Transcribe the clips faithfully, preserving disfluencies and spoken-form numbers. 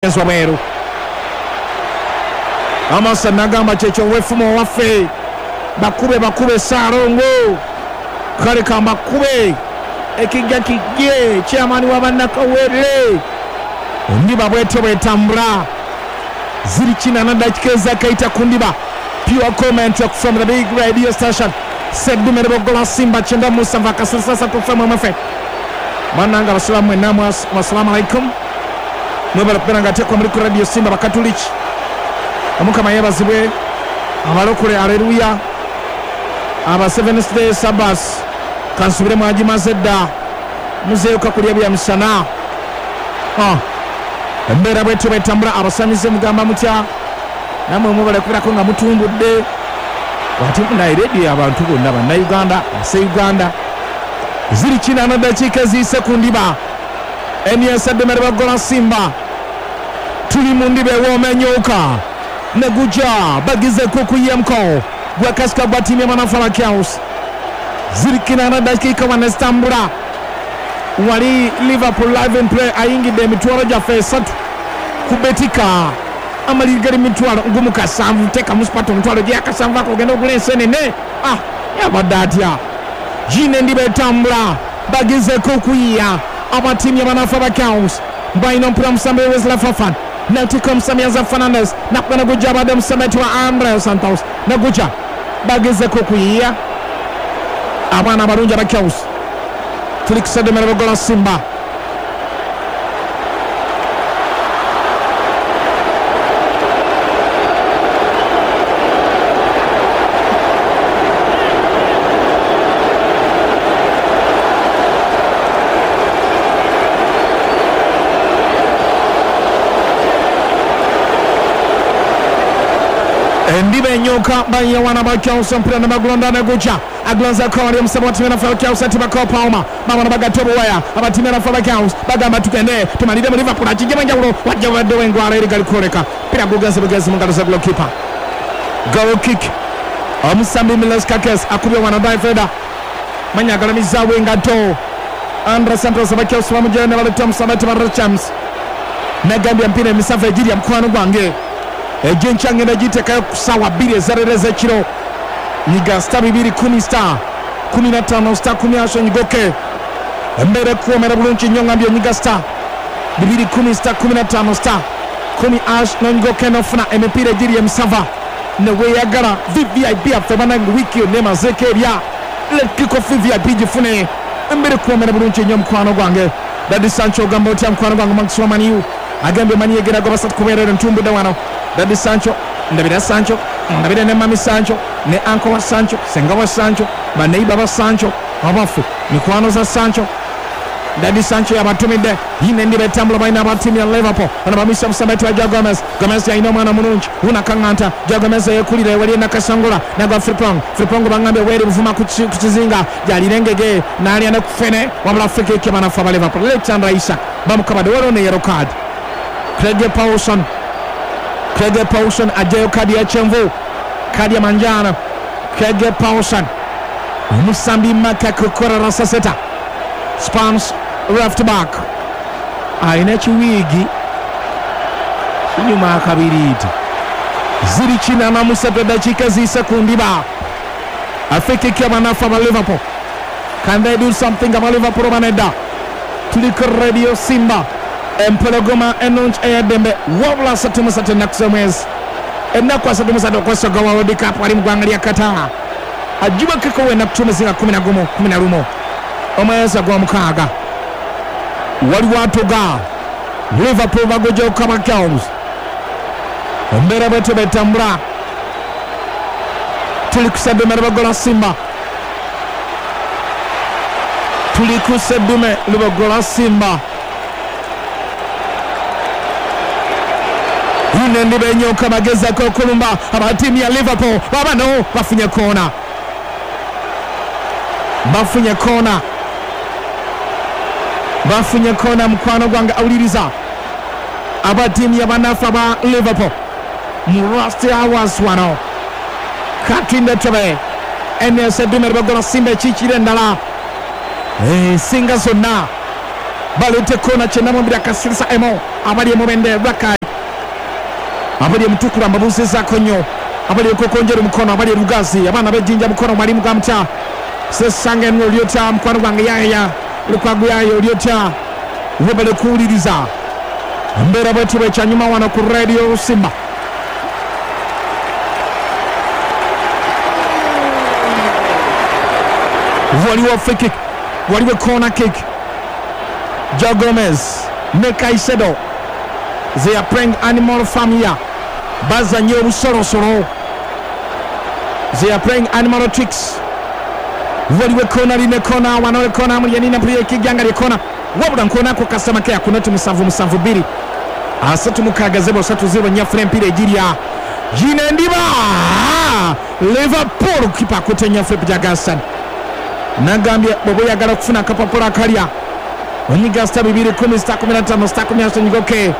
Wabweru Amasa nagamba kyekyo wefumo waffe bakube bakube Ssalongo kale kambakube ekijja kijje chairman wa bannakawere ndiba bwetyo bwetambula ziri kinana dakika ezakaita ku ndiba. Pure comment from the big radio station Seddume Lubogola Simba kyenda musanvu akasasa tufe mwefe bannange abasiraamu mwenna wassalamu alaikum mwebale kubeera nga ateekwa muri ku radio Simba bakatuliki Omukama yeebazibwe abalokole aleluya aba Seventh Day Sabbath kansubire mwagimaze dda muzeeyo kulya bya misana. Ah, embeera bwetyo bwetambula abasamize mugamba mutya namwe mwebale kubeerako nga mutumbudde ate munaye rediyo abantu bonna bannayuganda ase Uganda ziri kinana dakiika eziyise ku ndiba Eni Seddume Lubogola Simba tuli mu ndiba ewooma ennyooka neguja bagizeko okuyemko gwakasika gwa ttiimu y'abanafu Chaos ziri kinana dakiika wanezitambula wali Liverpool live and play ayingidde emitwalo gyaffe esatu ku Betika amaliri gali mitwalo ngumu kasanvu teekamu Sparta omutwalo gyakasanvu ako ogenda ogula ensenene ah yabadde atya gine endiba etambula bagizeko okuyiya abatiimu y'abanafu aba Chaos balina omupiira omusambi Wesley Fofana natika omusambi Enzo Fernandez nakuba neguja abadde omusambi wa Andre Santos neguja bagezeko okuyiya abaana abalungi aba Chaos tuli ku Seddume Lubogola Simba endiba enyoka bayiwana ba Chaos omupiira nebagulonda neguja agulonzako wali omusambi wa ttiimu y'abanafu Chaos atibako Palmer babona bagatta obuwaya abatiimu y'abanafu aba Chaos bagamba tugende tumalire mu Liverpool akijjemu enjawulo wajja babaddewo engwala eri gali kwoleka mpira gugenze bugenzi mu ngalo za goalkeeper. Goal kick omusambi Milos Kakes akubye wano David manya agalamizaawo engatto Andre Santos aba Chaos bamugyayo ne baleeta omusambi wa Richards nagambye emipiira emisanvu egirya mukwano gwange egyenkya ngenda giteekayo ku ssaawa bbiri ezaleero ez'ekiro nyiga star bibiri kumi star kumi na ttaano star kumi asho nyigoke embeera ekuwoomera bulungi nnyo ngambye onyiga star bibiri kumi star kumi na ttaano star kumi ash nonyigoke nofuna emipiira egiri emisava neweeyagala V V I P yaffe bannange wiiki yonna emazeeko erya lekikofi V I P gifune embeera ekuwoomera bulungi nnyo mukwano gwange Daddy Sancho ogamba otya mukwano gwange Maxwell Maniu agambye Maniu egera gwa basatu kubeerera ntumbudde wano Daddy Sancho ndabira Sancho ndabira ne Mami Sancho ne Uncle wa Sancho senga wa Sancho baneiba ba Sancho abafu mikwano za Sancho Daddy Sancho yabatumidde yine ndiba etambula balina aba ttiimu ya Liverpool bano bamisa omusambi wa Joe Gomez Gomez yalina omwana mulungi wunakaŋŋanta Joe Gomez yeekulira ewali enakasangula nagwa Frimpong Frimpong bangambye weeri buvuma ku kizinga gyalira engege n'alya ne ku ffene wabula free kick y'abanafu aba Liverpool Alexander Isak bamukabadde waliwo ne yellow card Craig Pawson Craig Pawson ajjayo kadi ya kyenvu kadi ya manjano Craig Pawson omusambi Maka Kukora Rasaseta Spans left back alina ekiwiigi kinyuma akabiriiti ziri kinana musatu eddakiika ziyise ku ndiba afikiki abanafu aba Liverpool can they do something aba Liverpool banedda tuli ku radio Simba empologoma ennungi ey'eddembe wabula asatu mu ssatu ennaku z'omwezi ennaku asatu mu ssatu okwesoga wa World Cup ali mu ggwanga lya Qatar ajjubakeko wennaku tumizinga kumi na gumu kumi na lumu omwezi ogw'omukaaga waliwo atuga Liverpool bagujja aba Chaos embeera bwetyo bwetambula tuli ku Seddume Lubogola Simba tuli ku Seddume Lubogola Simba yine ndiba enyoka bagezako okulumba aba ttiimu ya Liverpool babano bafunye koona bafunye koona bafunye koona mukwano gwange awuliriza aba ttiimu y'abanafu aba Liverpool mu last hours wano katinde tobe N S Seddume Lubogola Simba ekiikira endala ensinga zonna baleete koona kyenda mu bbiri akasirisa emo Abali emubende Rakai, abali emutukula mbabuuzizaako nnyo, abali ekokonjera mukono, abali erugazi, abaana b'ejjinja mukono, mwalimu gamutya sesanga eno olyotya mukwano gwange yaya lukwago yayo olyotya webale kuwuliriza embeera bwetyo bwekyanyuma wano ku Radio Simba. Waliwo free kick, waliwo corner kick. Joe Gomez ne Caicedo, they are playing Animal Farm here. Bazanye obusolosolo, they are playing animal tricks. Waliwo kona line kona wano kona mulyenina mpulira ekijjanga lyekona wabula nkonako customer care kunoti musanvu musanvu bbiri asatu mukaaga zero satu zero nyafuna empira egirya gino endiba Liverpool kipa akutte nyaffe Jagassan nagambye bw'oba oyagala okufuna akapapula akalya onyiga sita bibiri kumi sita kumi na ttaano sita kumi na ssatu onyigoke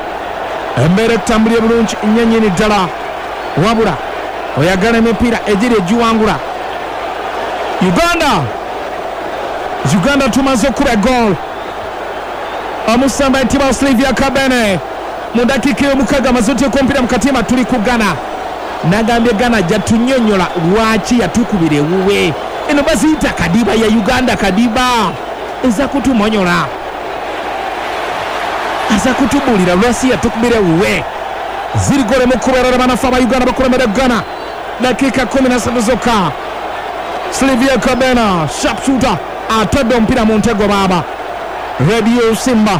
embeera ekutambulira bulungi nnyo nnyini ddala wabula oyagala emipiira egiri egiwangula. Uganda Uganda tumaze okuba goal omusamba ntibwa Silvia Kabene mu dakiika ey'omukaaga amaze oteeka omupiira mu katimba tuli ku Ghana. Nagambye Ghana jatunyonyola lwaki yatukubira ewuwe. Eno baziyita kadiba ya Uganda, kadiba eza kutumonyola, aza kutubuulira lwaki yatukubira ewuwe. Ziri gole mu kuberera banafe aba Uganda bakulembera Ghana dakiika kumi na ssatu zokka. Silvia Kabena sharpshooter atadde omupiira mu ntego baaba. Radio Simba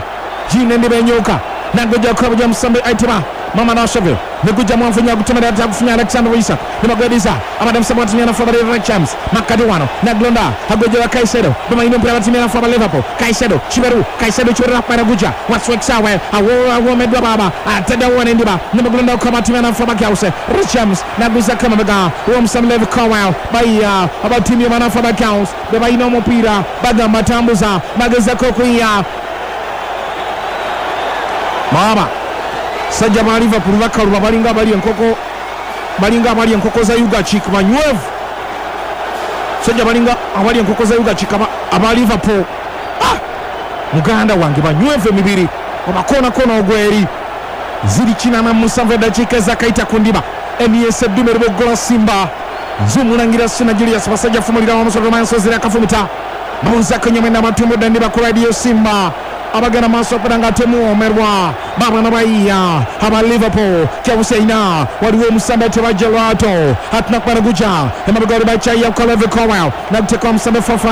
gine ndibenyuka nagujja kukabuja musambi aitima mama nasove nigujja mwanfunya gutomera atagufunya Alexander Isak nimagwediza abadde musambi watimia nafu abali James makati wano naglonda agujja wa Caicedo bamaine omupiira batimia nafu aba Liverpool. Caicedo Chiberu Caicedo Chiberu nakubaira guja wasweksawe awomeddwa baaba atadde wona endiba nimaglonda okuba batimia nafu abakause James naguza kamabega omusambi Levi Colwill baiya abatimia banafu abakause bebalina omupiira bagamba tambuza bagezako okuyiya Mama sajja ba Liverpool bakaluba balinga abali enkoko balinga abali enkoko za Ugachik banywevu. Sajja balinga abali enkoko za Ugachik aba Liverpool. Ah! Muganda wange banywevu emibiri omakona kona ogweri ziri kinana musanvu eddakiika ezakaita ku ndiba emiyeesa eddume luboggola Simba nzumulangira Sina Julius basajja fumulira wamusoto manso ziri akafumita mabunzako nyamwenda matumbudde ndiba ku Radio Simba abagenda maaso okubeera nga temuwoomerwa baabana bayiya aba Liverpool kyabuseina waliwo omusambe tebajja lwato atunakubana guja emabega wali bakyayiya ku Levi Colwill naguteeka omusambe Fofana.